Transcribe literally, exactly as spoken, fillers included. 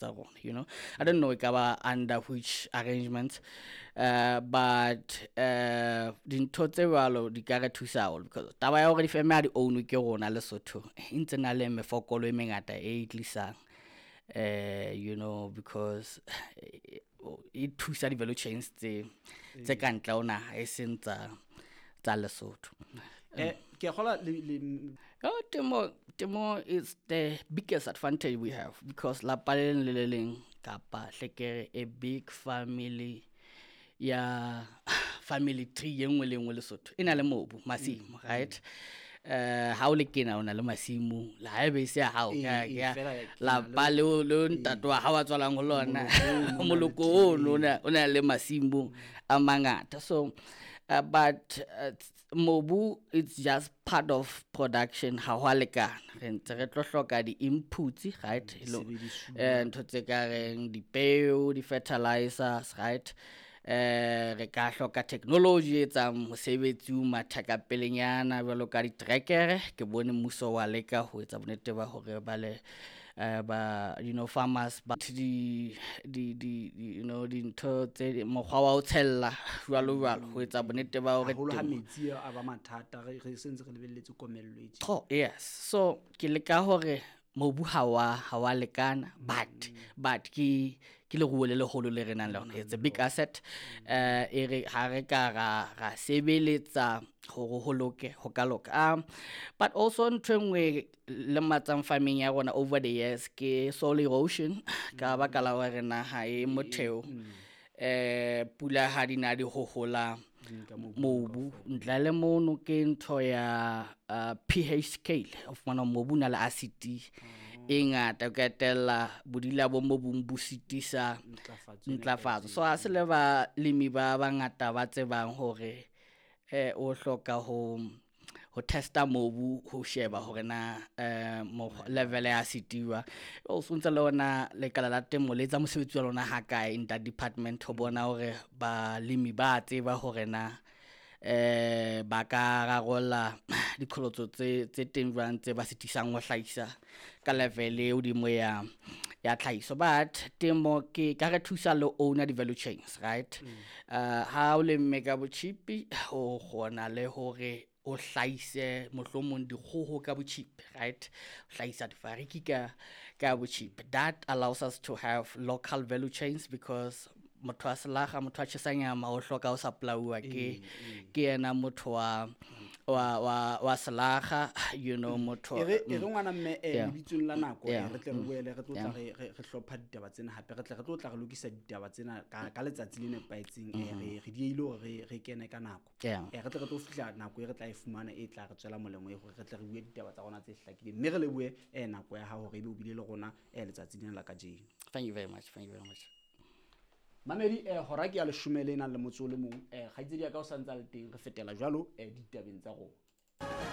Tsa rona, you know I don't know e ka ba under which arrangements, uh, but uh, dintho tse jwalo di ka re thusa haholo, because taba ya hore difeme ha di ownwe ke rona Lesotho e ntse na le mefokolo e mengata e tlisang, eh you know because e thusa di-value chains tse tse ka ntle ho naha, e seng tsa tsa Lesotho. Eh ke a kgola le le Oh, temo temo is the biggest advantage we have, because lapa le leng le le leng, kapa hlekere a big family ya family tree e nngwe le nngwe Lesotho e na le mobu, masimo, right? eh ha o le kena o na le masimo, le haebe e se ya hao, Ee, ka ee, ya fela ke na le- lapa leo leo ntate wa hao a tswalang ho lona, moloko ono o na o na le masimo a mangata. So uh, but uh, mobu, it's just part of production. Ha ho a lekana, re ntse re tlo hloka di-inputs, right? Lo- Disebedisuwa. eh ntho tse ka reng dipeo, di-fertilizers, right? eh re ka hloka technology e etsang mosebetsi o matha ka pelenyana, jwalo ka ditrekere. Ke bone mmuso wa leka ho etsa bonnete ba hore ba le eh ba you know farmers ba di di di di- you know dintho tse mokgwa wa ho tshella, jwalo jwalo, ho etsa bonnete ba hore Haholo ha temo- metsi a ba mathata, re re sentse re lebelletse komello e tje. Oh, yes. So ke leka hore mobu ha wa ha wa lekana, but but ke ke leruo le leholo le re nang le lona. It's a big asset. eh e re ha re ka ra ra sebeletsa hore ho loke, ho ka loka. um but also ntho e nngwe lematsang farming ya rona over the years ke soil erosion, ka baka la hore naha e motheo, eh pula ha di na di hohola Di nka mobu. Mobu ntle le mono ke ntho ya uh, P H scale. O fumana mobu o na le acid e ngata, o qetella bodila bo mobung bo sitisa Ntlafatso e ntlafatso. So ha se le balemi ba bangata ba tsebang hore eh o hloka ho ho testa mobu, ho sheba hore na eh mokgwa- level ya acid jwang. O ntse le ona lekala la temo le etsa mosebetsi wa lona ha kae in that department, ho bona hore balemi ba tseba hore na eh ba ka rarolla diqholotso tse tse teng jwang, tse ba sitisang ho hlahisa ka level e hodimo ya ya tlhahiso. But temo ke ka re thusa le owner di-value chains, right? uh, ha o lemme ka botjhipi, o kgona le hore o hlahise mohlomong dikgoho ka botjhipi, right? O hlahisa difariki ka ka botjhipi. That allows us to have local value chains, because motho wa selaga, motho wa tjhesa nyama, o hloka ho supply-uwa ke ke yena motho wa wa wa wa selaga, you know motho. E re e re ngwana mme, eh Yeah. lebitsong la nako, eh Yeah. re tle re boele re tlo tla Yeah. re re re hlopha ditaba tsena hape, re tle re tlo tla re lokisa ditaba tsena ka ka letsatsi le nepahetseng. eh re re diehile hore re re kene ka nako. Yeah. eh re tle re tlo fihla nako e re tla e fumana e tla re tswela molemo, e hore re tle re bue ditaba tsa rona tse hlakileng, mme re lebohe eh nako ya hao hore ebe o bile le rona eh letsatsi lena la kajeno. Thank you very much, thank you very much. Mamedi, eh hora ke ya leshome le nang le motso o le mong. eh kgaitsedi ya ka o santse a le teng, re fetela jwalo eh ditabeng tsa rona.